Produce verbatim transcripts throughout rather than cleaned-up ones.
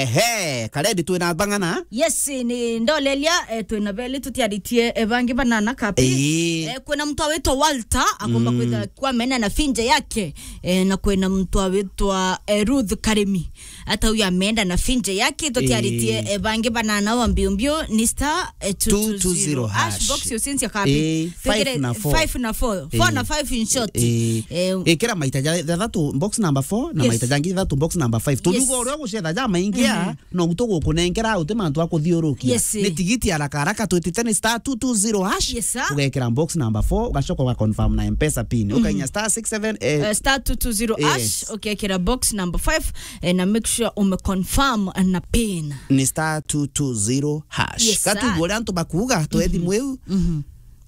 Ehe, Karedi twina bang'ana. Yes, ni ndolelia, eh, twina beli tutiaritie, eh, bangi banana kapi. Ii. Eh, kwina mtu awitwa Walter, akomba kwitha kwa mena na finje yake. Eh, na kwina mtu awitwa, eh, Ruth Karimi. Ata uyu ameenda na finje yake, tutiaritie, eh, bangi banana wa mbio mbio, ni star, eh, two two zero hash. Box yo since ya kapi. Eh, five na four. Five na four. Four na five in short. Eh, eh, ikira maita ja, ja thatu box number four, na maita jangi thatu box number five. Yes. Tunugo uria gucetha ja maingia, no gutu gukunengera uti mantu akuthiurukia. Yes. Ni tigiti haraka haraka twitite ni star two two zero hash. Yes, sir. Ugekira box number four, ugacoka uga confirm na M-Pesa pin. Ukainya star six seven, eh, eh, star two two zero hash, yes, ukekira box number five, eh, na make sure ume confirm na pin. Ni star two two zero hash. Yes, sir. Gatuigua uria antu bakuuga, twe thimu iu.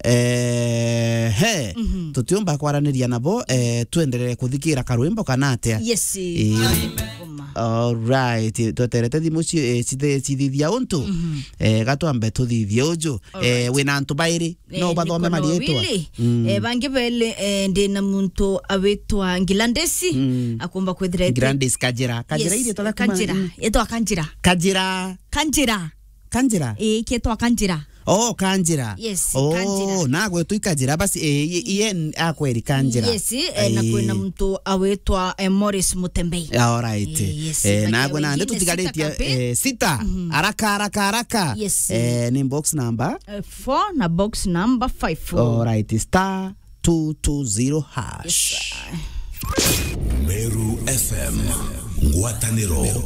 Eh, he, tutiumba kwaraniria nabo, eh, twenderere kuthikira karwimbo kana atia? Yes. Eh. Ngoma. All right, tweterete thimu ci-, eh, cithe-, cithithia untu. Eh, gatwambe tuthithie uju. All right. Eh, wina antu bairi, no bathome mariitwa. Eh, bangi beli, eh, ndina muntu awitwa Ngilandesi, akumba kwithira ete- Gladys Kajira. Kajira. Yes, iria itwa Kajira. Itwa Kanjira. Kajira. Kanjira. Kanjira. Kanjira? Ii, kietwa Kanjira. Oh, Kanjira. Yes, oh, Kanjira. Nagwe tu Kanjira, basi, eh, i-, iye n-, akweri Kanjira. Yes, eh, na kwina muntu awitwa, eh, Morris Mutembei. All right. Eh, yes, eh, nagwe nandi tutigaritie, eh, sita. Haraka, haraka, haraka. Yes. Eh, ni box number? Eh, four na box number five. All right, star two two zero hash. Yes, sir. Meru F M, ngwataniro